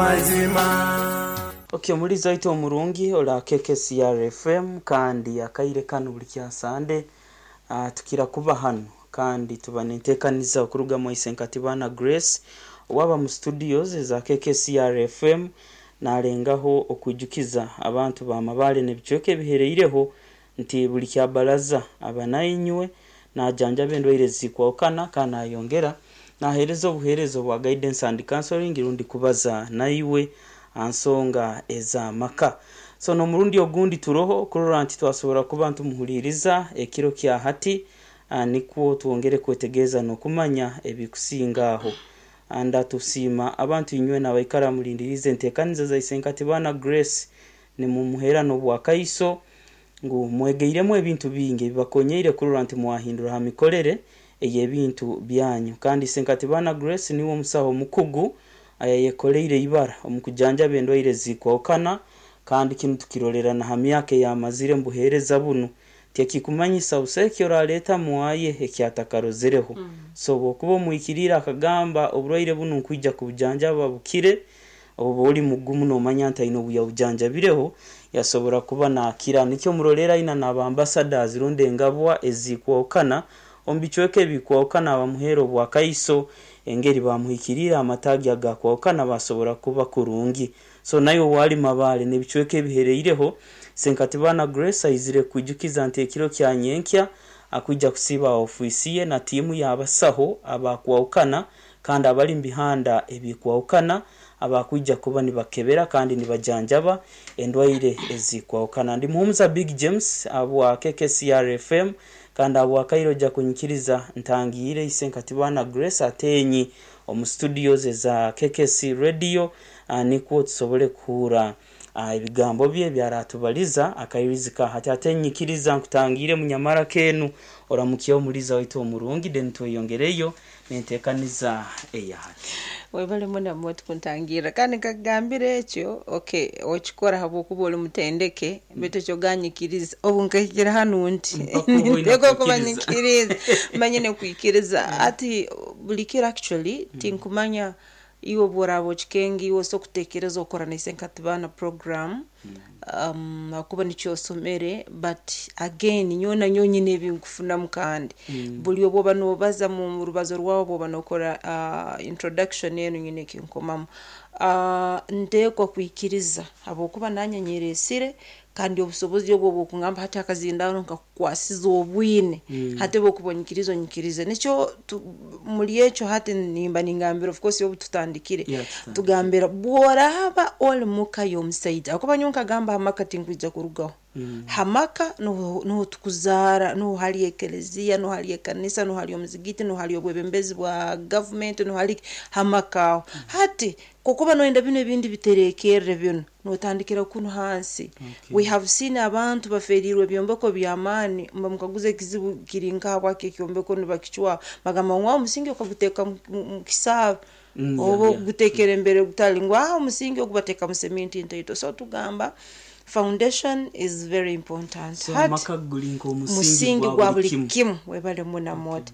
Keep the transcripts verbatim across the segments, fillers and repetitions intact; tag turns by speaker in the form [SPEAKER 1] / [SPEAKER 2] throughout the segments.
[SPEAKER 1] Mazima.
[SPEAKER 2] Okay, omulizi waitu omurungi ora K K C R F M, kandi akaire kanu buli kya Sande uh, tukira kuba hano kandi tuba nenteekaniza okuruga mu Isenkatibana Grace, owaba mu studios eza K K C R F M, nalengaho okwijukiza abantu ba Mabale n'ebicweka ebihereireho nti buli kya baraza aba nainywe najanjaba endwaire zikwahukana, kandi nayongera naheereza obuheereza obwa guidance and counseling, rundi kubaza naiwe aha nsonga ez'amaka. So n'omurundi ogundi turoho kurora nti twasobora kuba ntumuhuliriza ekiro kya hati, ah, nikwo twongere kwetegereza n'okumanya ebikusinga aho. Ndatusiima abantu inywe nabaikara mulindiriize enteekaniza za Isenkatibana Grace, nimumuheera n'obwakaiso ngu mwegeiremu ebintu bingi ebibakonyeire kurora nti mwahindura ha mikorere ey'ebintu byanyu. Kandi Isenkatibana Grace niwe omusaho omukugu ayayekoleire ibara omu kujanjaba endwaire zikwahukana, kandi kinu tukirorera na ha myaka eyamazire mu buheereza bunu. Tekikumanyisa busa eki oraleeta mwaye ekyatakarozereho. So bwokuba omwikiriire akagamba oburwaire bunu nkwija kubujanjaba bukire, oba oli mugumu nomanya nti aine obu yabujanjabireho yasobora kuba nakira. Nikyo murolera aina n'aba ambassadors rundi engabwa ezikwahukana omu bicweka ebikwahukana, bamuheera obwakaiso engeri bamuhikiriire amataagi agakwahukana basobora kuba kurungi. So naye owali Mabale n'ebicweka ebihereireho, Senkatibana Grace aizire kwijukiza nti ekiro kya nyenkya akwija kusiiba ofiisi ye na tiimu y'abasaho abakwahukana kandi abali mu bihanda ebikwahukana, abakwija kuba nibakebera kandi nibajanjaba endwaire ezikwahukana. Ndi Muhumuza Big James abwa K K C R F M, kandi abwakaire ojja kunyikiriza ntangiire Isenkatibana Grace Atenyi omu studios eza K K C Radio, uh, nikwo tusobole kuhura uh, ebigambo bye byaratubaliza akairizika hati. Ate nyikiriza nkutangiire munyamara kenu, oramukyeho omuliza waitu omurungi, then tweyongereyo nenteekaniza eya hati.
[SPEAKER 3] Webale muno moti kuntangira, kandi nkakugambira ekyo, okay, okikora habwokuba oli mutendeke, baitu ekyo ganyikiriza obu nkahikira hanu nti
[SPEAKER 2] Mpaka obu oina
[SPEAKER 3] nteekwa kuba
[SPEAKER 2] kwikiriza.
[SPEAKER 3] Nyikiriza manyine kwikiriza ati buli kiro. Actually tinkumanya iwe bworaba okikenga, iwe osobola kutekereza okora na Isenkatibana program um, akuba nikyo osomere, but again nyowe nanyowe nyine ebinkufunamu, kandi buli obwoba nobaza mu rubazo rwawe, bwoba nokora uh, introduction enu, nyine ekinkomamu. uh, nteekwa kwikiriza habwokuba nanye nyeresire, kandi obusobozi obwo bwokungamba hati akazindaro nkakukwasiza obwine. Hati bwokuba onyikiriza, onyikirize nikyo tu- muri ekyo hati nimba ningambira, of course obu tutandikire.
[SPEAKER 2] Yeah, tutandikire.
[SPEAKER 3] Tugambira bworaba oli muka y'omusaija, akuba nyowe nkagamba hamaka tinkwija kurugaho. Hamaka nuho nuho tukuzaara, nuho hali ekeleziya, nuho hali ekanisa, nuho hali omuzigiti, nuho hali obwebembezi bwa gavumenti, nuho hali hamaka aho. Hati kokuba noyenda bino ebindi biterekerre, bino notandikira kunu hansi.
[SPEAKER 2] Okay.
[SPEAKER 3] We have seen abantu baferirwe ebyombeko by'amaani, mba mukaguza ekizibu kiri nkahabwaki ekyombeko nibakicwaho, bagamba ngu omusingi okaguteeka mu- mu mu kisaabo
[SPEAKER 2] Mm,
[SPEAKER 3] oba
[SPEAKER 2] yeah, yeah.
[SPEAKER 3] ogutekera embere gutali ngu ah omusingi ogu bateeka mu seminti ntaito. So tugamba foundation is very important.
[SPEAKER 2] So
[SPEAKER 3] Hati
[SPEAKER 2] amaka guli nk'omusingi
[SPEAKER 3] musingi
[SPEAKER 2] gwa
[SPEAKER 3] gwa
[SPEAKER 2] buli
[SPEAKER 3] buli
[SPEAKER 2] kimu.
[SPEAKER 3] Kimu. Webale muna moti.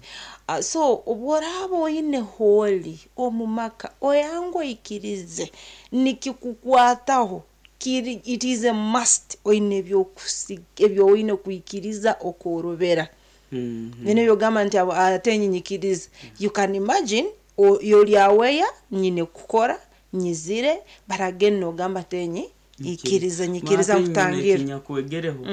[SPEAKER 3] uh, so obworaba oine hooli omu maka oyange, oikirize nikikukwataho kiri, it is a must, oine ebyokusi- ebyo oine kwikiriza okworobera.
[SPEAKER 2] Mhm.
[SPEAKER 3] Bino byogamba nti abo ate nyinyikiriza, you can imagine o- yoli aweya nyine kukora nyizire, but again nogamba tenyi ikiriza, nyikiriza nkutangira.
[SPEAKER 2] Ekinyakwegereho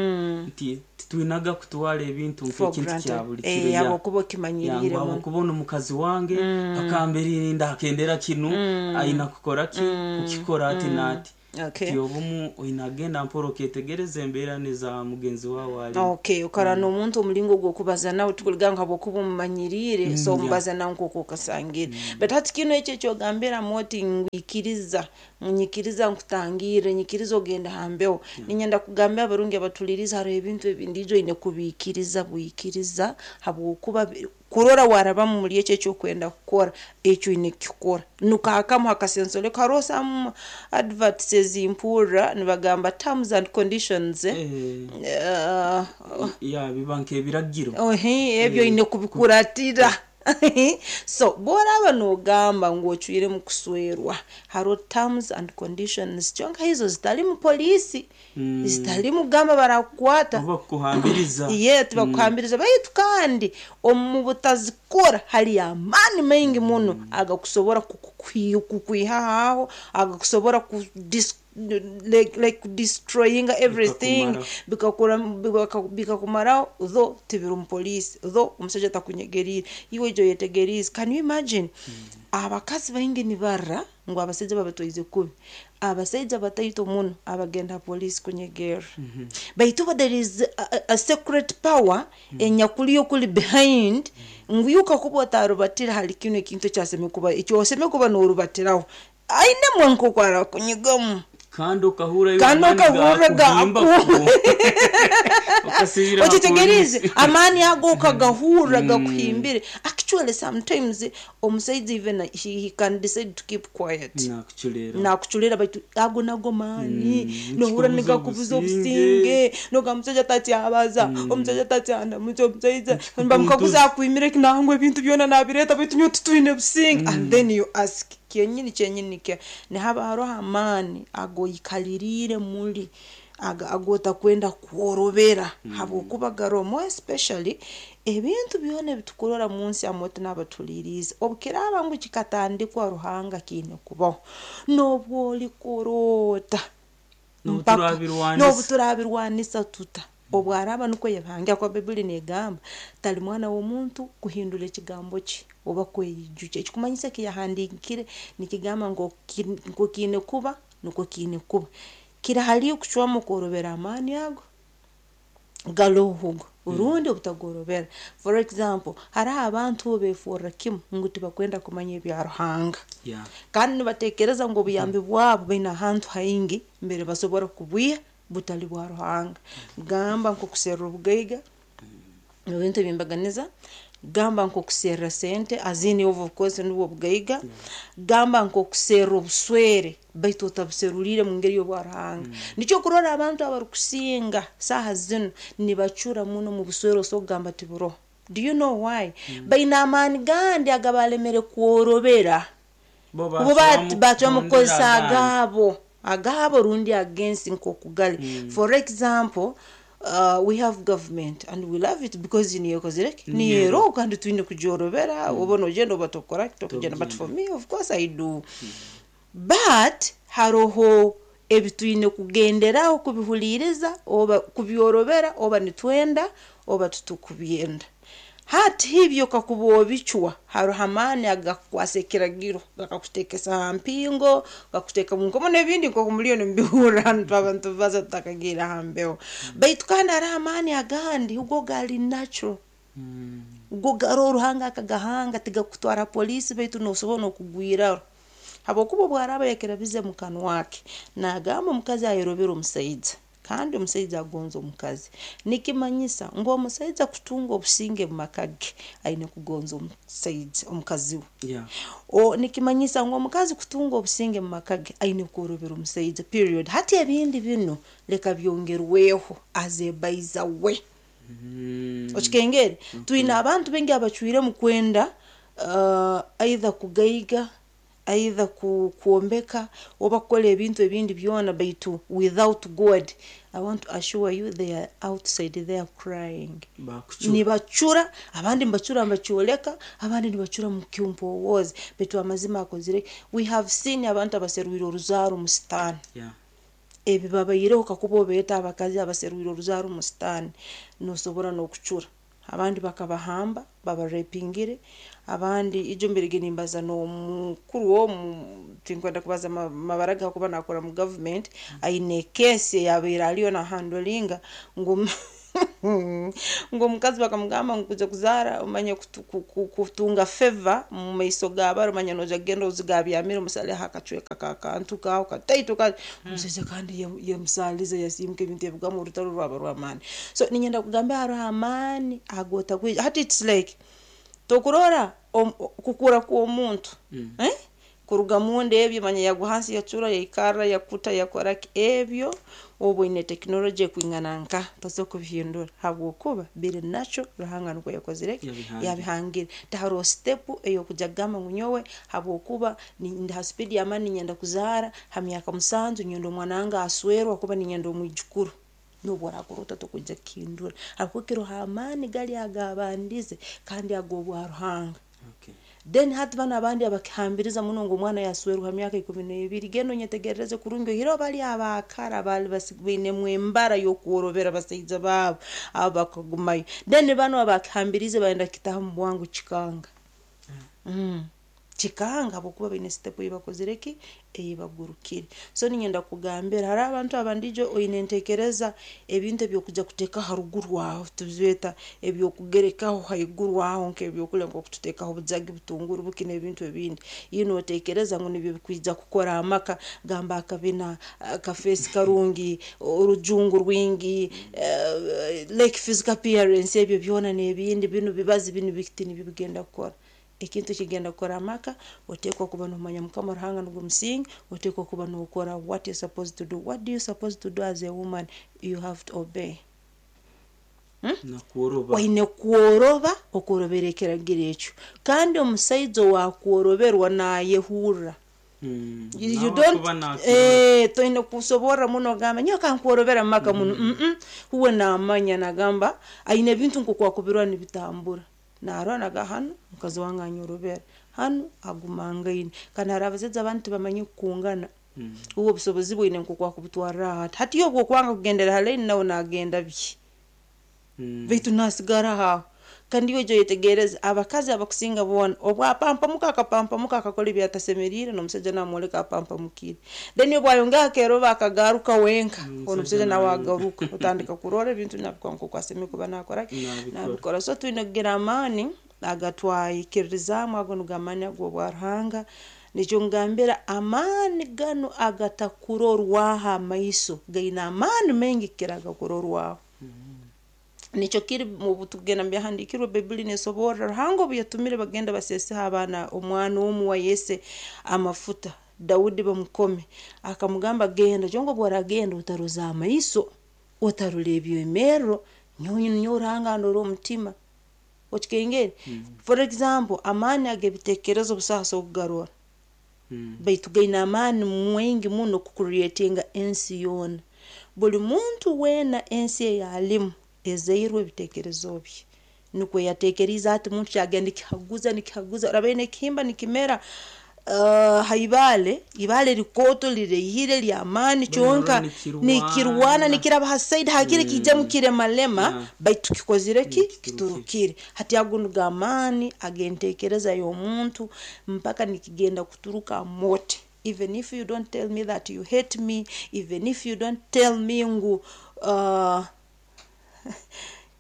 [SPEAKER 2] nti titwinaga kutwara ebintu
[SPEAKER 3] For
[SPEAKER 2] nk'ekintu kya
[SPEAKER 3] granted.
[SPEAKER 2] buli
[SPEAKER 3] Eh,
[SPEAKER 2] kiro ya
[SPEAKER 3] habwokuba okimanyiriire
[SPEAKER 2] yangu
[SPEAKER 3] muno.
[SPEAKER 2] habwokuba ono mukazi wange akamberirinda akendera kinu, aina kukora ki, kukikora ati naati.
[SPEAKER 3] Okay.
[SPEAKER 2] Ti obumu oina agenda mpora oketegereza embeera neza mugenzi wawe alimu.
[SPEAKER 3] Okay, okara n'omuntu omulingo gw'okubaza nawe tukuliga ngu habwokuba omumanyiriire, so
[SPEAKER 2] yeah.
[SPEAKER 3] omubaza nawe nk'oku okasangire. But hati kino ekyo ekyogambiramu oti ngwikiriza, nyikiriza nkutangirre, nyikiriza ogenda hambeho, ninyenda kugambira abarungi abatuliriza, hariho ebintu ebindiijo oine kubiikiriza bwikiriza, habwokuba bi- kurora warabamu muri ekyo ekyokwenda kukora, ekyo oine kukikora nukahakamu hakasensoleko. Hariho some adverts ezimpurra nibagamba terms and conditions, eh?
[SPEAKER 2] Eh,
[SPEAKER 3] Uh,
[SPEAKER 2] ya biba nk'ebiragiro.
[SPEAKER 3] Ohe, ebyo oine kubikuratira. So bworaba nogamba ngu ocwire mu kuswerwa, hariho terms and conditions, kyonka hizo zitali mu poliisi,
[SPEAKER 2] Mm.
[SPEAKER 3] zitali mugamba barakukwata.
[SPEAKER 2] Oba kukuhambiriza.
[SPEAKER 3] Ye, tibakuhambiriza, baitu kandi omu butazikora hali amaani maingi muno agakusobora kukukwi- kukwihaho aho, agakusobora ku dis- like, like destroying everything.
[SPEAKER 2] Bikakumaraho.
[SPEAKER 3] Bikakura- bika- bikakumaraho though tibiri omu poliisi, though omushaija takunyegeriire, iwe ijo oyetegeriize. Can you imagine abakazi baingi nibarra ngu abasaija babatwaize kubi? Abasaija bataito muno abagenda ha poliisi kunyegerra, baitu bo there is a, a, a secret power enyakuliyo kuli behind, ngu yuka kuba otarubatira hali kinu ekintu ekyaseme kuba ekyoseme kuba norubatiraho, ainemwe nk'oku arakunyigamu.
[SPEAKER 2] Kandi okahura
[SPEAKER 3] Kandi okahurra
[SPEAKER 2] gakuhimba.
[SPEAKER 3] gaku-
[SPEAKER 2] Okasibira ha
[SPEAKER 3] Okitegereize?
[SPEAKER 2] polisi.
[SPEAKER 3] Amaani ago okagahurra gakuhimbire. Actually, sometimes omusaija even he, he can decide to keep quiet.
[SPEAKER 2] Nakuculera.
[SPEAKER 3] Nakuculera, baitu ago nago maani.
[SPEAKER 2] Mm,
[SPEAKER 3] Nohura
[SPEAKER 2] nikikubuza
[SPEAKER 3] nigakubuza
[SPEAKER 2] obusinge.
[SPEAKER 3] obusinge, noga omusaija tatyabaza, omusaija tatyandamuki, omusaija
[SPEAKER 2] Nikikukuntuza.
[SPEAKER 3] bamukaguza akwimire nangwa ebintu byona nabireta, baitu nyowe titwine businge. And then you ask kyenyini kyenyini ke nihaba hariho amaani agoikaliriire muri aga- agotakwenda kworobera, habwokuba garoho, more especially ebintu byona ebitukurora mu nsi amoto n'abatuliriize. Obukiraaba ngu kikatandikwa Ruhanga, kiine kubaho n'obwo olikorota
[SPEAKER 2] N'obu
[SPEAKER 3] mpaka-
[SPEAKER 2] turabirwanisa.
[SPEAKER 3] N'obu turabirwanisa tuta, obwaraba nukwo yabangira, kwa Baibuli negamba tali mwana w'omuntu kuhindura ekigambo kye oba kweyijukya. Ekikumanyisa ekiyahandiikire nikigamba ngu ki- ngu kiine kuba nukwo kiine kuba. Kiri hali okucwamu kworobera amaani ago garoho orundi obutagorobera. For example, hariho abantu beefurra kimu ngu tibakwenda kumanya ebya Ruhanga,
[SPEAKER 2] Yeah.
[SPEAKER 3] kandi nibatekereza ngu obuyambi bwabo baine ahantu haingi mbere basobora kubwiha butali bwa Ruhanga. Gamba nk'okuserra obugaiga mu bintu ebyembaganiza, gamba nk'okuserra sente azini, of course nubwo obugaiga, gamba nk'okuserra obuswere, baitu otabuseruriire mu ngeri y'obwa Ruhanga. Nikyo kurora abantu abarukusinga saaha zinu nibacura muno mu buswere, osobola kugamba tiburoho. Do you know why? Baine amaani gandi agabalemere kworobera.
[SPEAKER 2] Bo
[SPEAKER 3] Bo bat- bacwamu
[SPEAKER 2] kuhondera
[SPEAKER 3] kukozesa
[SPEAKER 2] agandi.
[SPEAKER 3] Agaabo agaabo rundi agensi nk'okugali. For example, uh, we have government and we love it because niyo ekozire ki?
[SPEAKER 2] Niyo.
[SPEAKER 3] Niyo, kandi twine kugyorobera, oba nogenda oba tokora tokugenda, but for me, of course I do. But haroho ebitwine kugenderaho kubihuliiriza oba kubyorobera, oba nitwenda oba tutukubyenda. Hati hibyo kakuba obicwa, haroho amaani agakukwasa ekiragiro, gakakuteekesa ha mpingo, gakuteeka mu nkomo n'ebindi nk'oku muliyo nimubihurra hanu abantu baza tutakagiire ha mbeho. Baitu kandi hariho amaani agandi go gali natural,
[SPEAKER 2] Mm.
[SPEAKER 3] go garoho Ruhanga akagahanga, tigakutwara poliisi, baitu nosobora n'okugwiraho, habwokuba obwaraaba yakirabize mu kanwa ke nagamba omukazi ayorobera omusaija kandi omusaija agonza omukazi, nikimanyisa ngu omusaija kutunga obusinge mu maka ge aine kugonza omusaija omukazi we.
[SPEAKER 2] Yeah.
[SPEAKER 3] O nikimanyisa ngu omukazi kutunga obusinge mu maka ge aine kworobera omusaija, period. Hati ebindi bino leka byongerweho azebaiza we.
[SPEAKER 2] Mm.
[SPEAKER 3] Okikengere, twine abantu baingi abacwire mu kwenda uh, either kugaiga, either ku, kwombeka oba kukora ebintu ebindi byona, baitu without God. I want to assure you they are outside there crying.
[SPEAKER 2] Bakucura.
[SPEAKER 3] Nibacura, abandi nibacura nibakyoleka, abandi nibacura mu kyumpowoozi, baitu amazima akozire. We have seen abantu abaserwire oruzaaro mu sitaani.
[SPEAKER 2] Yeah.
[SPEAKER 3] Ebi babaireho, kakuba obeeta abakazi abaserwire oruzaaro mu sitaani, nosobora n'okucura. Abandi bakabahamba babarepingire, abandi ijo mbirege nimbaza n'omukuru omu, tinkwenda kubaza ma- mabara ge kuba nakora mu government, aine kesi eyabaire aliyo nahandolinga ngu ngu omukazi bakamugamba ngu kuja kuzaara omanye kutu- ku- ku- kutunga favor mu maiso g'abari, omanye noja kugenda ozigabyamire omusaleho akacweka kakantu kaho kataito ka omusaija, kandi ye- yemusaaliza yasiimuka ebintu ebigamu orutaro rwaba rw'amaani. So ninyenda kugamba hariho amaani agotakwija. Hati it's like tokurora om- kukura kw'omuntu,
[SPEAKER 2] Mm.
[SPEAKER 3] eh? Kuruga munda ebyo manya yagwa hansi yacura yaikarra yakuta yakora ki ebyo obu oine tekinologi ekwingana nka tosobola kubihindura habwokuba biri nakyo Ruhanga nukwo yakozire ki
[SPEAKER 2] Yabihangire.
[SPEAKER 3] Yabihangire. Tiharoho step ey'okujya kugamba ngu nyowe habwokuba ni- ndi ha speed y'amaani ninyenda kuzaara ha myaka musanju, nyenda omwana wange aswerwe kuba ninyenda omwijukuru. N'obu orakora ota tokwija kukihindura habwokuba kiroho amaani gali agabandize kandi ag'obwa Ruhanga.
[SPEAKER 2] Okay.
[SPEAKER 3] Then hati banu abandi abakihambiriza muno ngu omwana yaswerwa ha myaka ikumi n'ebiri, genda onyetegerereze kurungi oihireho bali abaakara baali basi- bainemu embara y'okworobera basaija baabo, abo bakagumayo. Then banu abakihambirize bayenda kukitaha mu bwangu kikanga. Mm. Kikanga habwokuba baine step ei bakozire ki ei bagurukire. So ninyenda kugambira hariho abantu abandijo oine entekereza ebintu ebyokuja kuteeka haruguru aho tubyeta ebyokugerekaho haiguru aho nk'ebyokulya nk'okututeekaho obujagi, butunguru, buki n'ebintu ebindi. Iwe nootekereza ngu nibyo bikwija kukora amaka, gamba akabina, akafeesi karungi, orujungu rwingi, eh, like physical appearance, ebyo byona n'ebindi binu bibazi binu biti nibyo bigenda kukora. Ekintu ekigenda kukora amaka oteekwa kuba nomanya Mukama Ruhanga nugwo musingi, oteekwa kuba nokora what you supposed to do. What do you supposed to do as a woman? You have to obey.
[SPEAKER 2] Nakworoba.
[SPEAKER 3] Oine kworoba okworobera ekiragiro ekyo, kandi omusaija owakworoberwa nayehurra.
[SPEAKER 2] Mm.
[SPEAKER 3] You, you
[SPEAKER 2] Nawe
[SPEAKER 3] don't
[SPEAKER 2] kuba nakirora.
[SPEAKER 3] eh, toine kusoborra muno ogamba nyowe kankworobera mumaka muno. mm huwe namanya nagamba aine ebintu nkokwakubirwa nibitambura narora naga hanu mukazi wange anyorobera hanu agumangaine. Kandi hari abasaija abandi tibamanyi kukungana.
[SPEAKER 2] Mm.
[SPEAKER 3] Uwe obusobozi bwine nkokwakubutwarra hati hati yo obwokwanga kugendera ha line nawe nagenda bye.
[SPEAKER 2] Mm.
[SPEAKER 3] Baitu nasigara aho. Kandi iwe ojya oyetegereze abakazi abakusinga boona obwapampamuka akapampamuka akakora ebyatasemeriire n'omusaija namwoleka apampamukire. Then obu ayongera akeeroba akagaruka wenka,
[SPEAKER 2] Omusajja
[SPEAKER 3] omusajja nawe
[SPEAKER 2] nawe-
[SPEAKER 3] agaruka otandika kurora ebintu nabikora nk'oku asemeriire kuba nakora ki
[SPEAKER 2] Nabikora.
[SPEAKER 3] nabikora. So twine kugira amaani agatwaikirizaamu, ago nigo amaani ag'obwa Ruhanga. Nikyo ngambira amaani ganu agatakurorwaho amaiso gaine amaani maingi kukira agakurorwaho. Nikyo kiri mu tugenda mu byahandiikirwe, Baibuli neesoborra Ruhanga obu yatumire bagenda baseeseho abaana omwana omu wa Yese amafuta, Daudi bamukome, akamugamba genda kyonka obu oragenda otaroza amaiso, otarora ebyemerro, nyowe nyowe Ruhanga ndora omutima. Okikengere? For example, amaani ag'ebiteekerezo busaho so kugarora.
[SPEAKER 2] Mm.
[SPEAKER 3] Baitu gaine amaani mwingi muno kucreatinga ensi yoona. Buli muntu weena ensi eyalimu ezairwe ebiteekerezo bye. Nukwo yateekeriize ati muntu kyagenda nikihaguza nikihaguza oraba nekihimba nikimera uh, ha ibaale, ibaale likooto lireihire ly'amaani kyonka
[SPEAKER 2] nikirwana.
[SPEAKER 3] Nikirwana nikiraba ha side hakiri kiijamu kiremalema.
[SPEAKER 2] Yeah.
[SPEAKER 3] Baitu kikozire ki?
[SPEAKER 2] Nikiturukire.
[SPEAKER 3] Kiturukire. Hati ago nigo amaani ag'enteekereza y'omuntu mpaka nikigenda kuturuka mote. Even if you don't tell me that you hate me, even if you don't tell me ngu uh,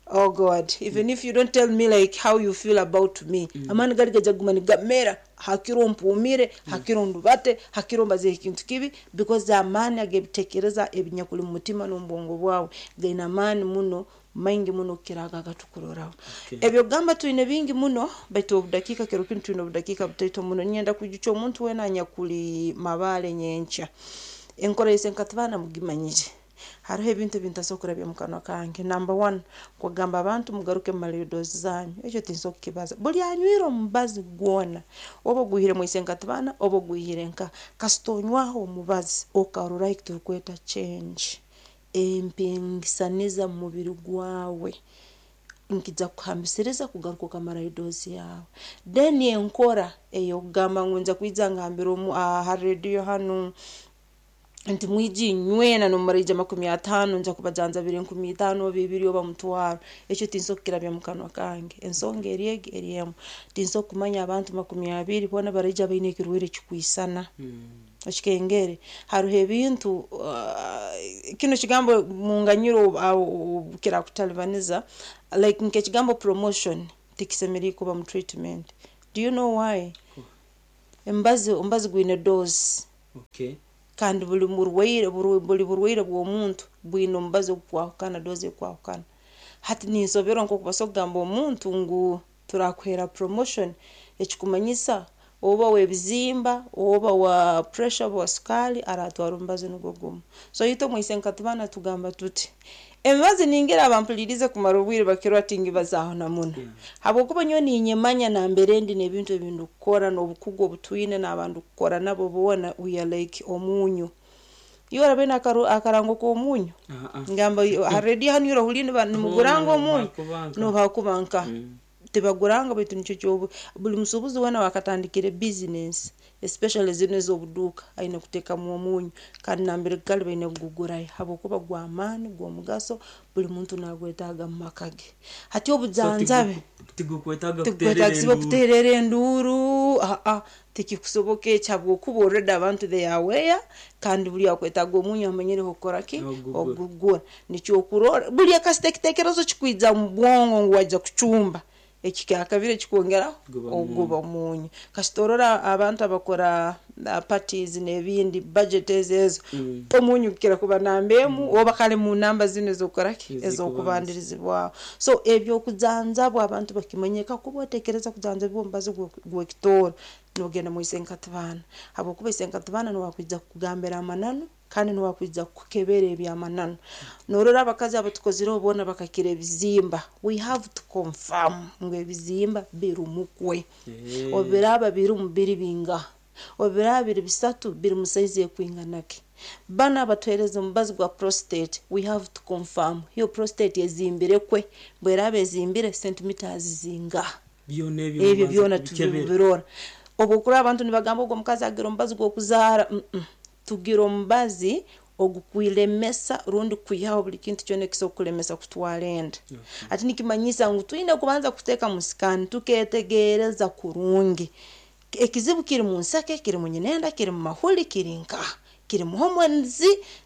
[SPEAKER 3] oh God, even if you don't tell me like how you feel about me, amaani gali gajya kuguma nigamera hakiro mpumire, hakiro ndubate, hakiro mbaze ekintu kibi, because amaani ag'ebiteekereza ebinyakuli mu mutima n'omu bwawe gaine amaani muno maingi muno kukira ago agatukuroraho.
[SPEAKER 2] Okay.
[SPEAKER 3] Ebyo kugamba twine bingi muno, baitu obudakiika kiro kinu twine obudakiika butaito muno. Ninyenda kwijukya omuntu weena anyakuli mabaale nyenkya enkora yise nkatibaana mugimanyire. Hariho ebintu ebintasobola kurabya mu kanwa kange. Number one, kugamba abantu mugaruke mumale doozi zanyu, ekyo tinsobola kukibaza. Buli anywire omubazi gwona, oba ogwihire mwise nkatibaana oba ogwihire nka, kasita onywaho omubazi okarora ekiturukweta change empingisaniza mu mubiri gwawe, nkija kuhambisiriza kugaruka okamarayo doozi yawe. Then enkora ey'okugamba ngu nja kwija ngambira omu aha rediyo hanu nti mwije inywena nomumaraija makumi ataano nja kubajanjabira enkumi itaano oba ibiri oba mutwaro, ekyo tinsobola kukirabya mu kanwa kange. Ensonga eri egi eri emu, tinsobola kumanya abantu makumi abiri boona baraija baine ekirwaire ekikwisana.
[SPEAKER 2] Mm.
[SPEAKER 3] Okikengere? Hariho ebintu uh, kino kigambo munganyiro uh, kirakutalibaniza, like nk'ekigambo promotion tikisemeriire kuba mu treatment. Do you know why? Embazi omubazi gwine dose.
[SPEAKER 2] Okay.
[SPEAKER 3] Kandi buli murwaire buri buli burwaire bw'omuntu bwine omubazi ogukwahukana, dose ekwahukana. Hati ninsoberwa nk'oku basobola kugamba omuntu ngu turakuheera promotion, ekikumanyisa Oba w'ebizimba, oba wa pressure, oba wa sukaali, aratwara omubazi nugwo gumu. So itwe omwise nkatubana tugamba tuti emibazi ningira abampulirize kumara obwire bakirwa tingibazaaho na muno, habwokuba nyowe ninyemanya nambere ndi n'ebintu ebindikukora n'obukugu obutwine n'abantu kukora nabo boona. We are like omunyu. Iwe orabe akarango k'omunyu, ngamba ha rediyo hanu orahuriire nimuguranga omunyu, nobakuba nka tibaguranga, baitu nikyo kyobu buli musuubuzi weena wakatandikire business, especially zinu ez'obuduuka, aine kuteekamu omunyu, kandi nambere gukali baine kugugurayo habwokuba gw'amaani, gw'omugaso, buli muntu nagwetaaga mu maka ge. Hati obujanjabi tigukwetaagisibwa kuteerera enduuru, aa tikikusoboka ekyo, habwokuba already abantu they are aware, kandi buli akwetaaga omunyu amanyire okukora ki, ogugura. Nikyo okurora buli kasita ekiteekerezo kikwija mu bwongo ngu waija kucumba, eki kyakabiri ekikwongeraho oguba omunyu. Kasita orora abantu abakora parties n'ebindi, budget ezo ezo, omunyu gukira kuba namba emu, oba kale mu namba zinu ez'okukora ki, ez'okubandirizibwaho. So ebyokujanjabwa abantu bakimanye, kakuba oteekereza kujanjabibwa omubazi gw'ekitooro, nogenda mwise nkatibana, habwokuba ise nkatibana niwe akwija kukugambira amananu, kandi niwe akwija kukukebera ebyamananu. Norora abakazi abatukozireho boona bakakira ebizimba, we have to confirm ngu ebizimba birumu kwe, obiraba birumu biri bingaha, obiraba biri bisatu biri mu saizi ekwingana ki. Banu abatuheereza omubazi gwa prostate, we have to confirm hiyo prostate ezimbire kwe, bweraba ezimbire centimeters zingaha, ebyo byona tubirora. Obwokurora abantu nibagamba ogwo omukazi agira omubazi gw'okuzaara, tugira omubazi ogukwilemesa rundi kwihaho buli kintu kyona ekisobola kukulemesa kutwara enda. Hati nikimanyisa ngu twine kubanza kuteeka mu scan tuketegereza kurungi ekizibu kiri mu nsake, kiri mu nyinenda, kiri mu mahuli, kiri nkaha, kiri mu hormones.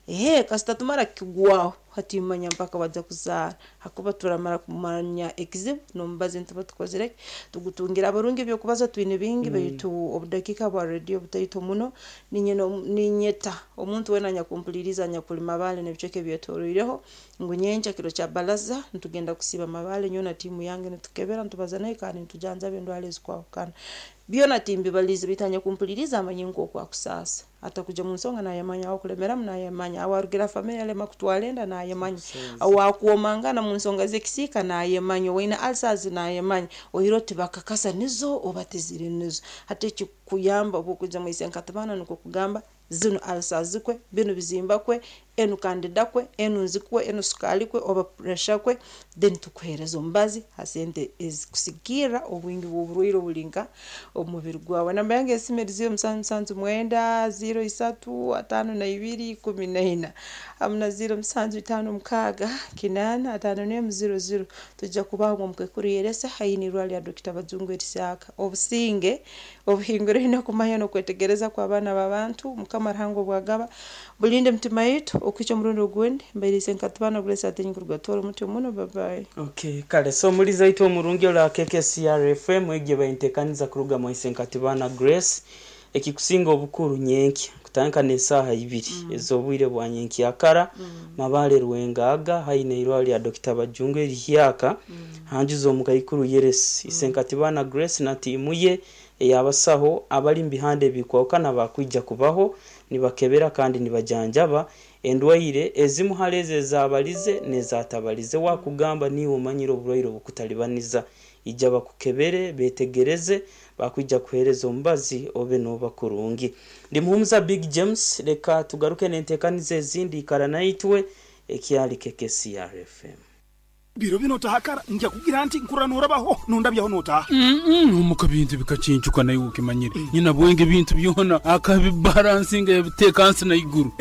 [SPEAKER 3] Ehe, kasita tumara kukigwaho, hati manya mpaka wajja kuzaara, hakuba turamara kumanya ekizibu n'omubazi nituba tukozire tugutungira. Abarungi ebyokubaza twine bingi, baitu obudakiika bwa rediyo butaito muno. Ninyeta omuntu weena anyakumpuliriza anyakuli Mabaale n'ebicweka ebyetoroireho ngu nyenkya kiro kya baraza nitugenda kusiiba Mabaale, nyowe na tiimu yange nitukebera, nitubaza nayo, kandi nitujanjaba endwara ezikwahukana. Byona timbibaliize, baitu anyakumpuliriza amanye nk'oku akusaasa atakuja mu nsonga nayemanya, awakulemeramu nayemanya, awarugira famire yalema kutwara enda nayemanya, awakwomangana mu nsonga z'ekisiika nayemanya, owaine ulcers nayemanya, oiro tibakakasa nizo oba tiziri nizo. Hati ekikukuyamba obwokwija mwise nkatibana nukwo kugamba zinu ulcers kwe, binu bizimba kwe, enu candida kwe, enu nzi kwe, enu sukaali kwe, oba pressure kwe, then tukuheereza omubazi ha sente ezikusigikirra obwingi bw'oburwaire obuli nka omu mubiri gwawe. Namba yange y'esimu eri ziro musanju musanju mwenda ziro isatu ataano na ibiri ikumi na ina, hamu na ziro musanju itaano mukaaga kinaana ataano n'emu ziro ziro. Tujja kubaho omu Yeresa haihi n'irwariro lya Dokita Bajungu Erisaaka. Obusinge obuhinguraine okumanya n'okwetegereza kw'abaana b'abantu, Mukama Ruhanga obwagaba bulinde emitima yaitu okuhikya omurundi ogundi. Mbairiise nkatibana Grace Atenyi kuruga Tooro mutyo muno. Bye bye.
[SPEAKER 2] Okay, kale so omulizi waitu omurungi ora K K C R F M, egyo baintekaniza kuruga mwise nkatibana Grace. Ekikusinga obukuru, nyenkya kutandika n'esaaha ibiri mm. ez'obwire bwa nyenkyakara, mm. Mabaale Rwengaga, haine irwariro lya Dokita Bajungu erihyaka, mm. hanjuza omukaikuru Yeresi, mm. Isenkatibana Grace na tiimu ye eyabasaho abali mu bihanda ebikwahukana bakwija kubaho nibakebera kandi nibajanjaba endwaire ezimu hali ezo ezabalize n'ezatabalize. Wakugamba niiwe omanyire oburwaire obukutalibaniza, ija bakukebere, betegereze, bakwija kuheereza omubazi obe nooba kurungi. Ndi Muhumuza Big James, reka tugaruke n'enteekaniza ezindi. Ikara naitwe, ekyali K K C R F M.
[SPEAKER 1] Biro bino otahakara nja kugira nti nkurra norabaho nondabyaho notaha.
[SPEAKER 4] Omuka bintu bikacincuka, naye ukimanyire nyina bwenge bintu byona akabibalansinga yabiteeka nsi na iguru.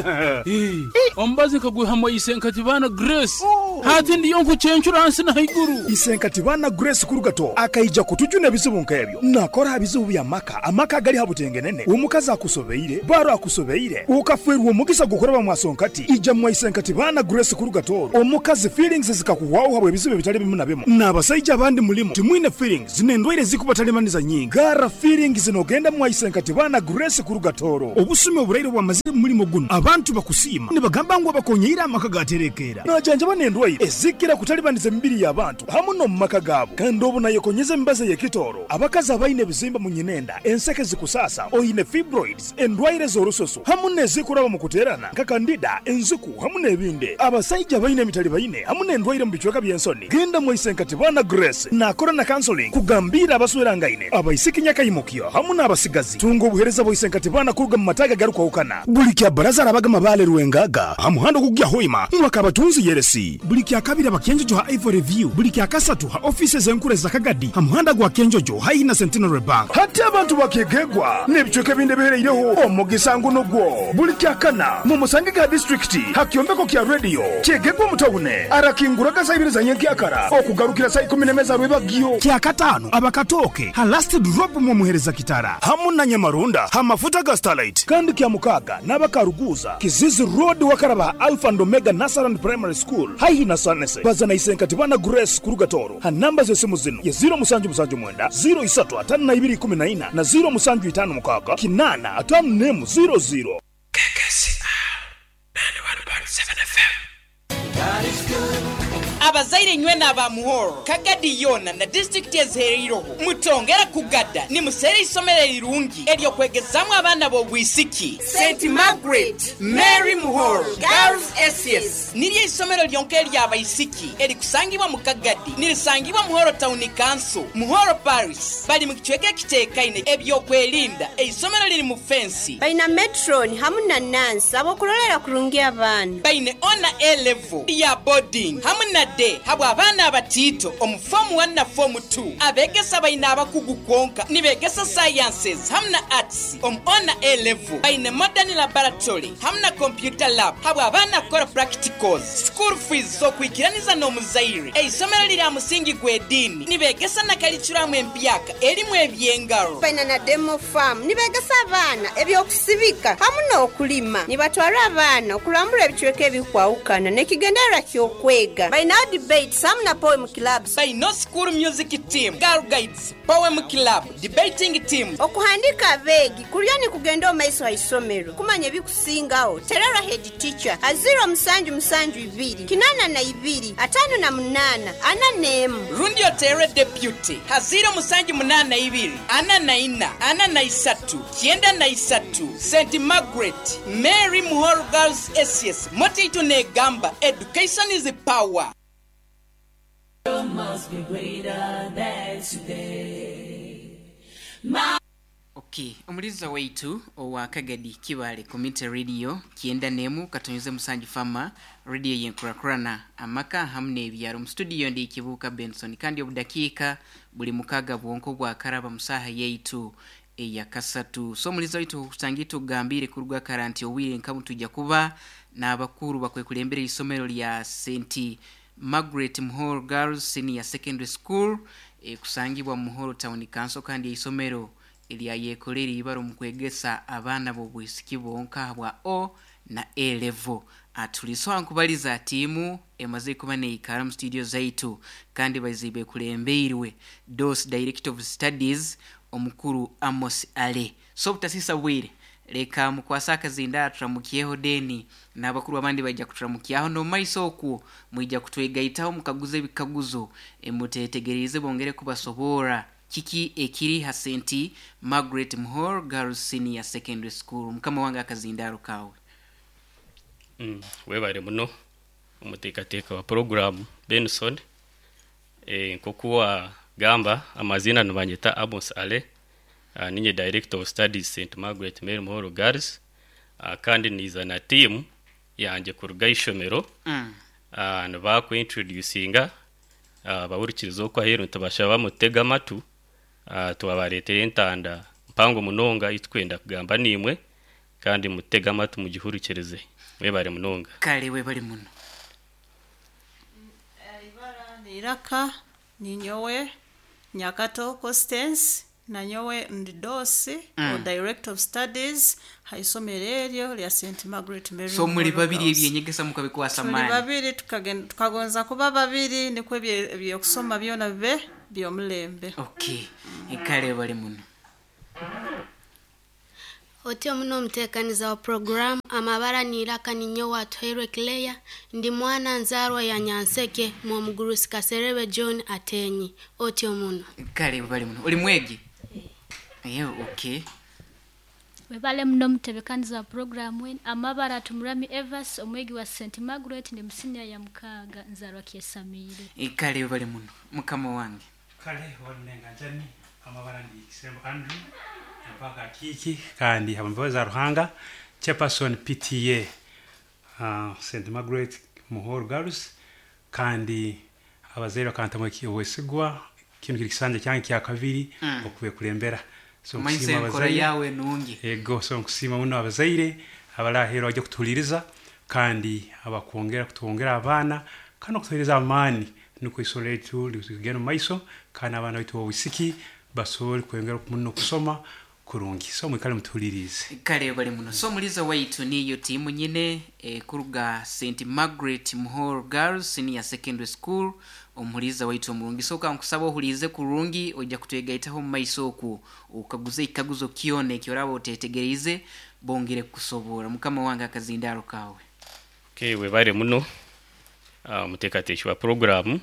[SPEAKER 4] Omubazi nkagwihamu Isenkatibana Grace.
[SPEAKER 1] Oh.
[SPEAKER 4] Hati ndiyo nkucencura nsi na iguru.
[SPEAKER 1] Isenkatibana Grace kurugato akaija kutujuna ebizibu nk'ebyo, nakora ha bizibu bya maka, amaka gali ha butengenene, omukazi akusobeire, baro akusobeire, ukafwerwa omugisa gukuraba mwasonkati, ija mwa Isenkatibana Grace kurugatoro, omukazi feelings zikakuhwaho. Habwe ebizibu ebitali bimu na bimu n'abasaija abandi mulimu timwine feelings n'endwaire zikubatalibaniza nyingi. Gara feelings n'ogenda mwaisenkati baana Grace kuruga Toro. Obusumi oburaire bwamazire mu mulimo guno, abantu bakusiima nibagamba ngu abakonyeire amaka gaterekeera. Najanjaba n'endwaire ezikira kutalibaniza emibiri y'abantu hamu n'omu maka gaabo. Kandi obu nayekonyeza emibazi ey'ekitooro, abakazi abaine ebizimba mu nyinenda, enseke zikusasa, oine fibroids, endwaire z'orususu hamu n'ezikuraba mu kuteerana nka kandida, enziku hamu n'ebindi. Abasaija baine emitali baine hamu n'endwaire mu bicweka by'ensoni, genda mwaisenkati baana Grace. Nakora na counseling kugambira abaswerangaine, abaisiki nyakaimukyo hamu n'abasigazi. Tunga obuhereza bwaisenkati baana kuruga mu mataga garukwahukana. Buli kya baraza arabaga mabale Rwengaga ha muhanda ogugya Hoima mwaka abatunzi yeresi. Buli kya kabiri abakenjojo ha Ivory View. Buli kya kasatu ha offices enkuru za Kagadi ha muhanda gwa Kenjojo haihi na Centenary Bank. Hati abantu bakegegwa n'ebicweka ebindi ebihereireho omugisa ngu nugwo. Buli kya kana mu musange ga district ha kyombeko kya radio kyegegwa mutawune arakinguraga saa ibiri za nyenkyakara okugarukira saa ikumi n'emeza rwebagyo. Kya katano abakatoke ha last drop mu muhereza kitara hamu na Nyamarunda ha mafuta ga Starlight. Kandi kya mukaga n'abakaruguza Kizizi Road wakaraba Alpha and Omega Nasaran Primary School haihi na Sanese. Bazana isenkati bana Grace kuruga Toro ha namba z'esimu zino ye zero musanju musanju mwenda zero isatu atano na ibiri kumi na ina na zero musanju itano mukaga kinana atano nemu zero zero.
[SPEAKER 5] K K C R ninety-one point seven F M.
[SPEAKER 6] Abazaire nywe n'aba Muhoro, Kagadi yona na district ezihereireho mutongera kugada nimusere isomero erirungi eryokwegezamu abaana b'obwisiki. Saint Margaret Mary Muhoro Girls S S niryo isomero lyonka ery'abaisiki erikusangibwa mu Kagadi, nirisangibwa Muhoro Town Council, Muhoro Parish. Bali mu kicweka ekiteekaine ebyokwerinda. Eisomero liri mu fensi.
[SPEAKER 7] Baina metron hamu na nansi abokulolera kurungi abaana.
[SPEAKER 6] Baine ona A level ya boarding hamu na day habwa abaana abatito omu form one na form two. Abegesa baina abakugu kwonka nibegesa sciences hamu na arts omu ona A level. Baine modern laboratory hamu na computer lab habwa abaana kukora practicals. School fees zokwikiraniza n'omuzaire. Eisomero liri aha musingi gw'ediini nibegesa na curriculum empyaka erimu ebyengaro.
[SPEAKER 7] Baina na demo farm nibegesa abaana ebyokusibika hamu n'okulima. Nibatwara abaana okulambula ebicweka ebikwawukana n'ekigendererwa ky'okwega. Baina debates hamu na poem clubs.
[SPEAKER 6] Baina school music team, girl guides, poem club, debating team.
[SPEAKER 7] Okuhandika abeegi kulya ni kugenda omaiso ha isomero kumanya ebikusingaho. Terera head teacher a zero musanju musanju ibiri kinana na ibiri atano na munana ana nemu.
[SPEAKER 6] Rundi otere deputy ha zero musanju munana ibiri ana na ina ana na isatu kienda na isatu. Saint Margaret Mary Muhoro Girls S S Motitu negamba education is power.
[SPEAKER 8] Must be greater than today. My
[SPEAKER 6] Okay, omuliza waitu owa Kagadi Kibale Community Radio kienda nemu katonyeze musanju fama radio yenkurakurana amaka hamwe n'ebyaro. Mu studio ndi Kibuka Benson kandi obudakika buli mukaga bwonko bwa karaba musaha yaitu eya kasatu. So omuliza waitu kusangitu gambire kuruga karanti owire nkamu tujja kuba n'abakuru bakwekulembera isomero lya Saint Margaret Muhoro Girls Senior Secondary School e, kusangibwa Muhoro Town Council kandi isomero eryayekolera ibaro mu kwegesa abaana b'obwisiki bonka bwa O na A level. Atuliso nkubaliza tiimu emaze kuba neikara mu studio zaitu kandi bazibe kulembeirwe dos Director of Studies omukuru Amos Ale. So butasisa bwire leka mukwasa akazinda turamukyeho deni n'abakuru abandi bajja kuturamukyaho no maiso okwo mwijja kutwegaitaho mukaguze ebikaguzo emutetegereze bongere kubasobora kiki ekiri ha Saint Margaret Muhoro Girls Senior Secondary School. Mukama wange akazindaro kawe.
[SPEAKER 9] Mm, webare muno omuteekateeka wa program Benson. E, nkokuwa gamba amazina nibanyeta Amos Ale. Uh, ninye Director of Studies Saint Margaret Mary Muhoro Girls. Uh, kandi niza na team yanje kuruga ishomero. Mm. Uh, nibakuintroducinga uh, bahurikiriza okwo aheeru nitubasha bamutega amatu. Uh, tubabareetera entanda mpango munonga itwenda kugamba nimwe kandi mutega amatu mugihurikirize. Webare munonga.
[SPEAKER 6] Kale webare muno.
[SPEAKER 10] Ibara niraka ninyowe Nyakato Constance Nanyowe ndi dosi
[SPEAKER 6] Mm.
[SPEAKER 10] o director of studies ha isomero eryo lya Saint Margaret Mary
[SPEAKER 6] So muri
[SPEAKER 10] Muhoro
[SPEAKER 6] babiri
[SPEAKER 10] Girls.
[SPEAKER 6] ebyenyegesa mukabikwasa
[SPEAKER 10] Tuli
[SPEAKER 6] maani.
[SPEAKER 10] babiri tukagenda tukagonza kuba babiri nikwo ebye- ebyokusoma byona bibe byomulembe.
[SPEAKER 6] Okay, kale bali muno.
[SPEAKER 11] Otyo muno omuteekaniza wa puroguramu amabara niiraka ninyo watuhairwe Claire, ndi mwana nzaarwa ya Nyanseke mwomugurusi Kaserebe John Atenyi. Otyo muno.
[SPEAKER 6] Kale bali muno. Oli mwegi? Ye, okay.
[SPEAKER 12] Webale muno mutebekaniza wa puroguramu enu. Amabara Tumurami Evas omwegi wa Saint Margaret ndi musinia ya mukaaga nzaarwa Kyesamiire.
[SPEAKER 6] Kale bali muno. Mukama wange.
[SPEAKER 13] Kale walunenga njani amabara ndi Kisembo Andrew mpaka kiki kandi abambaza Ruhanga chairperson P T A uh, Saint Margaret Muhoro Girls, kandi abazaire bakantamu obwesigwa kinu kiri kisanja kyange kya kabiri
[SPEAKER 6] Mm.
[SPEAKER 13] okube kulembera. So
[SPEAKER 6] Omanyi
[SPEAKER 13] nkusiima
[SPEAKER 6] enkora
[SPEAKER 13] abazaire.
[SPEAKER 6] yawe nungi.
[SPEAKER 13] Ego, so nkusiima muno abazaire abarahera bajya kutuhuliriza kandi abakwongera kutwongera abaana kandi okutuhereza amaani nukwo isomero lyaitu ligende omu maiso kandi abaana baitu b'obwisiki basobole kwongera muno okusoma kurungi. So mwikale mutuhulirize.
[SPEAKER 6] Kale bali muno. So muliza waitu niyo tiimu nyine e, kuruga Saint Margaret Muhoro Girls Senior Secondary School. Omuliza waitu omurungi, so kankusaba ohulize kurungi, ojja kutwegaitaho mu maiso oku okaguze ekikaguzo kyona ekyoraba otetegereize bongere kukusobora. Mukama wange, akazindaro kawe.
[SPEAKER 9] Okay, webale muno uh, omuteekateeki wa puroguramu.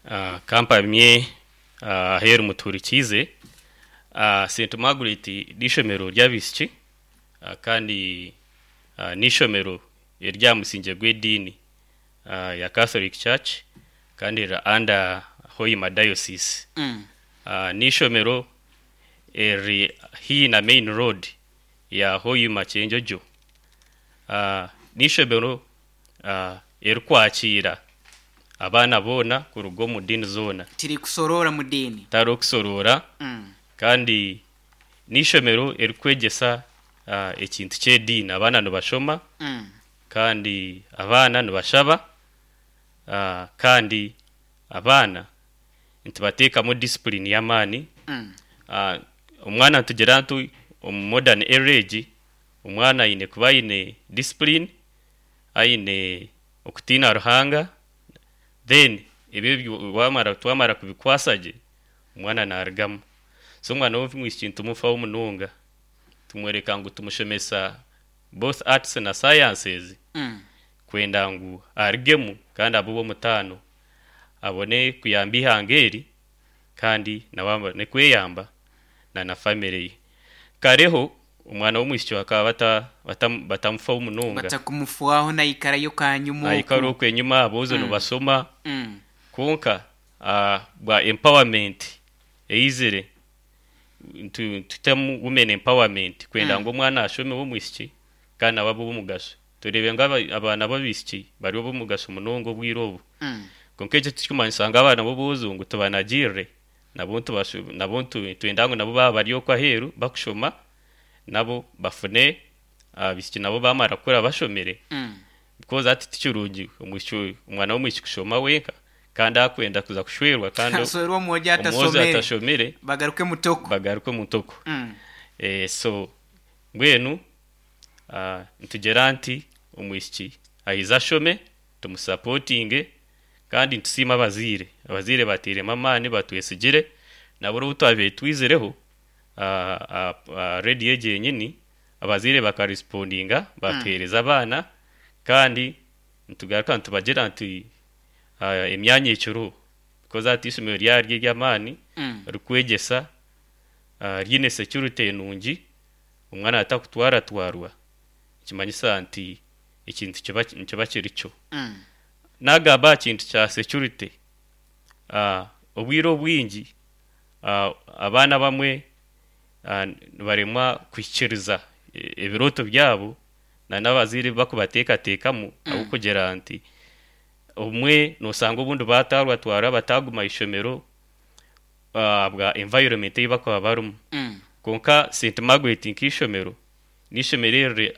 [SPEAKER 9] uh, kampamye uh, aheeru mutuhurikiize. uh, Saint Margaret n'ishomero ry'abaishiki uh, kandi uh, n'ishomero erya musingi gw'ediini uh, ya Catholic Church kandi riri under Hoima Diocese.
[SPEAKER 6] Mm.
[SPEAKER 9] uh, n'ishomero eri haihi na main road ya Hoima Kyenjojo. uh, n'ishomero uh, erikwakira abaana boona kuruga omu diini zoona.
[SPEAKER 6] Tiri kusorora mu diini.
[SPEAKER 9] Tari okusorora.
[SPEAKER 6] Mm.
[SPEAKER 9] Kandi n'ishomero erikwegyesa uh, ekintu ky'ediini, abaana nibashoma
[SPEAKER 6] Mm.
[SPEAKER 9] kandi abaana nibashaba uh, kandi abaana nitubateekamu discipline y'amaani.
[SPEAKER 6] Mm.
[SPEAKER 9] uh, omwana nitugira ntu omu modern age omwana aine kuba aine discipline, aine okutiina Ruhanga, then ebyo byo- wamara twamara kubikwasa gye omwana narugamu. So omwana w'omwishiki nitumufaho munonga, tumwereka ngu tumushomesa both arts na sciences
[SPEAKER 6] Mm.
[SPEAKER 9] kwenda ngu arugemu kandi abe ow'omutaano, abone kuyamba ihanga eri kandi nawe abone kweyamba na na family ye. Kareho omwana w'omwishiki bakaba bata, bata, batamufaho munonga.
[SPEAKER 6] Batakumufwaho naikarayo kanyuma.
[SPEAKER 9] Aikara okwo enyuma, aboojo
[SPEAKER 6] Mm.
[SPEAKER 9] nibasoma.
[SPEAKER 6] Mm.
[SPEAKER 9] Konka uh, bwa empowerment eizire ntu- tutemu women empowerment kwenda
[SPEAKER 6] Mm.
[SPEAKER 9] ngu omwana ashome w'omwishiki kandi nawe abe ow'omugasho. Turebe ngu aba- abaana b'abaishiki bari ab'omugasho munonga obwire obu.
[SPEAKER 6] Mm.
[SPEAKER 9] Konka ekyo tikikumanyisa ngu abaana b'obwojo ngu tubanagirire, nabo ntubashu- nabo ntu- twenda ngu nabo baba bari okwo aheeru bakushoma nabo bafune abaishiki nabo bamara kukura bashomere
[SPEAKER 6] Mm.
[SPEAKER 9] because ati tikirungi omwishiki, omwana w'omwishiki kushoma wenka kandi akwenda kuza kushwerwa kandi
[SPEAKER 6] Aswerwe omwojo
[SPEAKER 9] omwojo
[SPEAKER 6] atasomere.
[SPEAKER 9] atashomere.
[SPEAKER 6] Bagaruke mutoko.
[SPEAKER 9] Bagaruke mutoko.
[SPEAKER 6] Mm.
[SPEAKER 9] eh, so mbwenu uh, nitugira nti omwishiki ayize ashome, tumusapotinge kandi nitusiima abazaire. Abazaire bateiremu amaani, batwesigire nabo obu twabaire twizireho uh, uh, uh, rediyo egi yenyini, abazaire bakarespondinga batuheereza abaana. Kandi nitugaruka nitubagira nti uh, emyanya ekiriho because hati ishomero ryaryo ery'amaani
[SPEAKER 6] Mm.
[SPEAKER 9] rikwegyesa uh, ryine security nungi, omwana atakutwaratwarwa, kimanyisa nti ekintu kiba nikiba kiri kyo.
[SPEAKER 6] Mm.
[SPEAKER 9] Nagamba aha kintu kya security, uh, obwire obwingi uh, abaana bamwe uh, nibaremwa kuhikiriza e- ebirooto byabo na n'abazaire bakubateekateekamu mm. ahabw'okugira nti obumwe nosanga obundi batarwatwara bataguma ishomero uh, bwa environment ei bakuba barimu.
[SPEAKER 6] Mm.
[SPEAKER 9] Konka Saint Margaret nk'ishomero n'ishomero eriri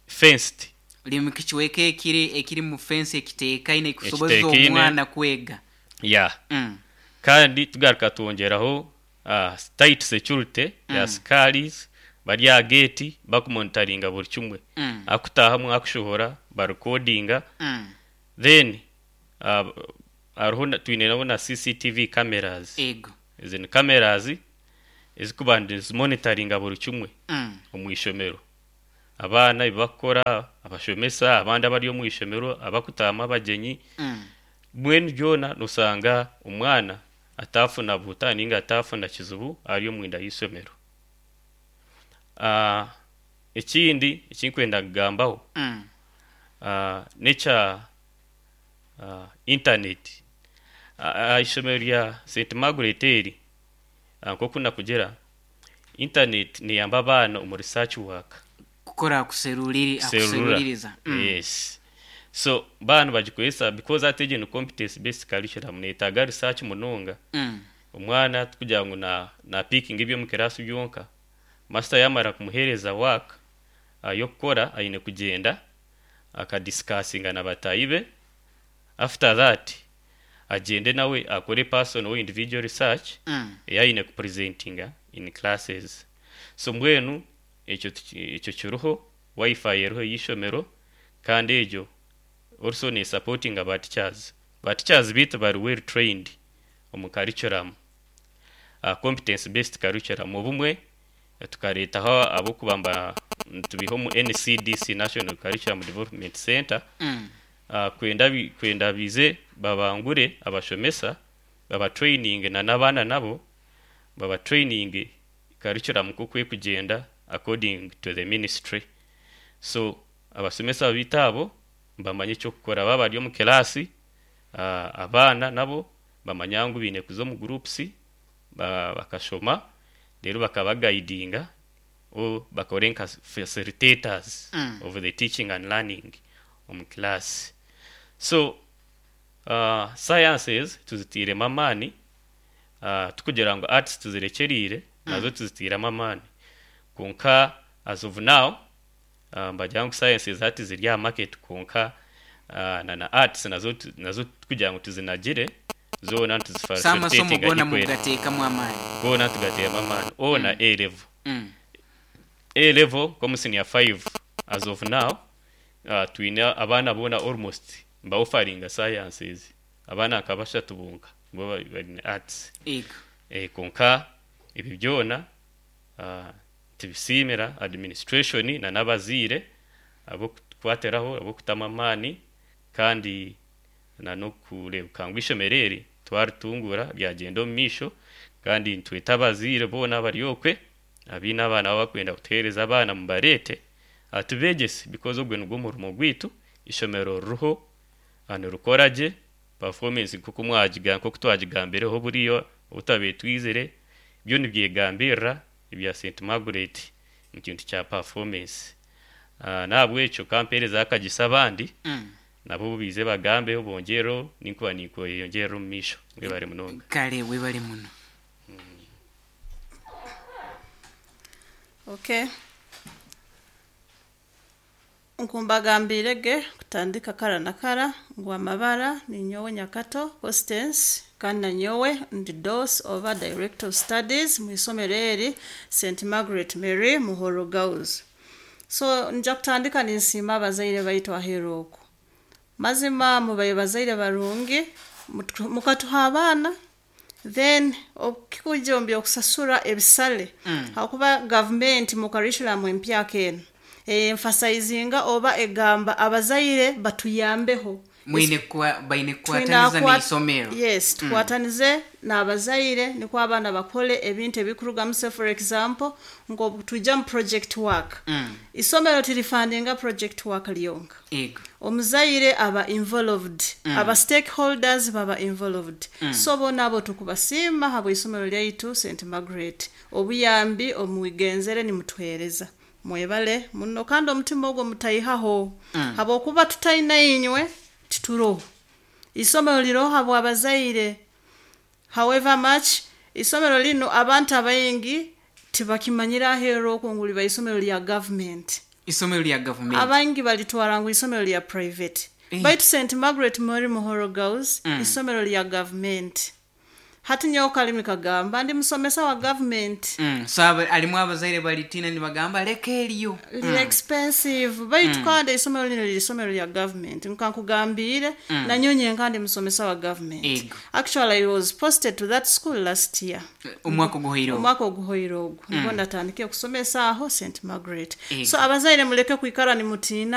[SPEAKER 9] fenced.
[SPEAKER 6] Liri mu kichweka ekiri ekiri mu fence ekiteekaine kusobozesa
[SPEAKER 9] Ekiteekaine.
[SPEAKER 6] omwana kwega.
[SPEAKER 9] Ya.
[SPEAKER 6] Mm.
[SPEAKER 9] Kandi tugaruka twongeraho uh, tight security mm. ya sikaris bari aha gate bakumonitoringa buri kimwe
[SPEAKER 6] Mm.
[SPEAKER 9] akutahamu akushohora barekodinga
[SPEAKER 6] Mm.
[SPEAKER 9] then uh, hariho na- twine nabo na C C T V cameras.
[SPEAKER 6] Ego.
[SPEAKER 9] Izi ni cameras ezikuba nizimonitoringa buri kimwe
[SPEAKER 6] Mm.
[SPEAKER 9] omu ishomero, abaana ebibakukora, abashomesa abandi abari omu ishomero, abakutahamu abagyenyi.
[SPEAKER 6] Mm.
[SPEAKER 9] Mbwenu byona nosanga omwana atafuna buta ninga atafuna kizibu ari omwinda y'isomero. uh, ekindi ekinkwenda kugambaho
[SPEAKER 6] Mm.
[SPEAKER 9] uh, nekya uh, internet. uh, ishomero rya Saint Margaret eri, uh, nkoku nakugira, internet neyamba abaana omu research work.
[SPEAKER 6] Kukora akuseruriri.
[SPEAKER 9] Serura.
[SPEAKER 6] Akuseruririza. Mm.
[SPEAKER 9] Yes, so baana bagikozesa because ate egyo ni competence based curriculum, neetaaga research munonga.
[SPEAKER 6] Mm.
[SPEAKER 9] Omwana tukugira ngu na, na picking ebyo kirasi byonka, master yamara kumuhereza work uh, yokukora, aine kugenda akadiscussinga na batayi be. After that agende nawe akore personal or individual research
[SPEAKER 6] Mm.
[SPEAKER 9] eyayine kupresentinga in classes. So mbwenu ekyo tuki- ekyo kiruho, WiFi eriho y'ishomero, kandi egyo also ne supporting aba teachers. Ba teachers bitu bari well trained omu curriculum, uh, competence based curriculum. Obumwe eh, tukareetaho abokubamba tubiha omu N C D C, National Curriculum Development Center,
[SPEAKER 6] Mm.
[SPEAKER 9] uh, kwenda bi- kwenda bize babangure abashomesa, baba training na n'abaana nabo baba training curriculum kukwe kugenda according to the ministry. So abasomesa bitu abo bamanye ekyokukora baba bari omu kirasi, uh, abaana nabo bamanya ngu biine kuza omu groups ba, bakashoma, rero bakabagaidinga o bakore nka facilitators
[SPEAKER 6] Mm.
[SPEAKER 9] of the teaching and learning omu class. So uh, sciences tuzitiiremu amaani, uh, tukugira ngu arts tuzirekyeriire, nazo tuzitiiremu amaani, konka as of now uh, mbagira ngu sciences hati ziri aha market, konka uh, na na arts nazo tu- nazo kugira ngu tuzinagire zoona.
[SPEAKER 6] So amasomo gona
[SPEAKER 9] Tuzifacilitatinga.
[SPEAKER 6] mugateekamu amaani.
[SPEAKER 9] Gona tugateekamu amaani ona.
[SPEAKER 6] Mm.
[SPEAKER 9] A level,
[SPEAKER 6] Mm.
[SPEAKER 9] A level komu senior five, as of now uh, twine abaana boona almost mbaofaringa sciences, abaana nka bashatu bonka bo bari bari arts.
[SPEAKER 6] Ego.
[SPEAKER 9] eh, konka ebi byona uh, tubisiimira administration na n'abaziire abokukwatiraho, abokutama amaani, kandi na n'okurebuka ngu ishomero eri twaritungura ryagenda omu maisho. Kandi nitweta abaziire boona abari okwe abiine abaana baba bakwenda kutuheereza abaana, mubareete atubegyese, because ogwe nigwo murimo gwaitu. Ishomero ririho nirikora gye, performance nkoku mwagiga nkoku twagigambireho buriyo obutabaire twizire, byo nibyegambirira ebya Saint Margaret mu kintu kya performance. uh, nahabwekyo kampereza akagisa abandi
[SPEAKER 6] Mm.
[SPEAKER 9] nabo bize bagambeho bongereho, ninkuba ninkweyongerera omu maisho. Mwebare munonga.
[SPEAKER 6] Kale, webale muno.
[SPEAKER 10] Okay, nkumbagambire ge kutandika kara na kara ngu amabara ni nyowe Nyakato Constance, kandi na nyowe ndi D O S oba Director of Studies mu isomero eri Saint Margaret Mary Muhoro Girls. So nja kutandika ninsiima abazaire baitu aheeru oku. Mazima mubaye bazaire barungi, mutu- mukatuha abaana, then okikuja omu byokusasura ebisale,
[SPEAKER 6] Mm.
[SPEAKER 10] hakuba gavumenti mu curriculum empyaka eno emphasizinga oba egamba abazaire batuyambeho.
[SPEAKER 6] Mwine kwa baine
[SPEAKER 10] Twina
[SPEAKER 6] kukwataniza
[SPEAKER 10] kwa-
[SPEAKER 6] n'isomero.
[SPEAKER 10] Yes,
[SPEAKER 6] Mm.
[SPEAKER 10] tukwatanize n'abazaire nikwo abaana bakole ebintu ebikurugamu. Se for example, ngo tujja mu project work,
[SPEAKER 6] Mm.
[SPEAKER 10] isomero tirifundinga project work lyonka.
[SPEAKER 6] Ego.
[SPEAKER 10] Omuzaire aba involved,
[SPEAKER 6] Mm.
[SPEAKER 10] aba stakeholders baba involved.
[SPEAKER 6] Mm.
[SPEAKER 10] So bona abo tukubasiima habwa isomero lyaitu Saint Margaret, obuyambi omwigenzere nimutuhereza. Mwebale muno, kandi omutima ogwo mutayihaho,
[SPEAKER 6] Mm.
[SPEAKER 10] habwokuba tutaina inywe tituroho. Isomero liroho habwa abazaire. However much isomero lino abantu abaingi tibakimanyira aheeru okwo ngu liba isomero lya government.
[SPEAKER 6] Isomero lya gavumenti.
[SPEAKER 10] Abangi balitwara ngu isomero lya private,
[SPEAKER 6] Eh.
[SPEAKER 10] baitu Saint Margaret Mary Muhoro Girls
[SPEAKER 6] Mm.
[SPEAKER 10] isomero lya government. Hati nyowe kalimi kagamba ndi musomesa wa government.
[SPEAKER 6] Mm. So aba- alimu abazaire balitina nibagamba leka eriyo.
[SPEAKER 10] Liri expensive, baitu
[SPEAKER 6] Mm.
[SPEAKER 10] kandi isomero lino liri isomero lya government, nkankugambire.
[SPEAKER 6] Mm.
[SPEAKER 10] Nanyonye nkandi musomesa wa government.
[SPEAKER 6] Ego.
[SPEAKER 10] Actually, I was posted to that school last year.
[SPEAKER 6] Omwaka oguhoire ogwo.
[SPEAKER 10] Omwaka oguhoire ogwo.
[SPEAKER 6] Mm.
[SPEAKER 10] Nibwo natandikire kusomesa aho Saint Margaret.
[SPEAKER 6] Ego.
[SPEAKER 10] So abazaire muleke kwikara nimutiina.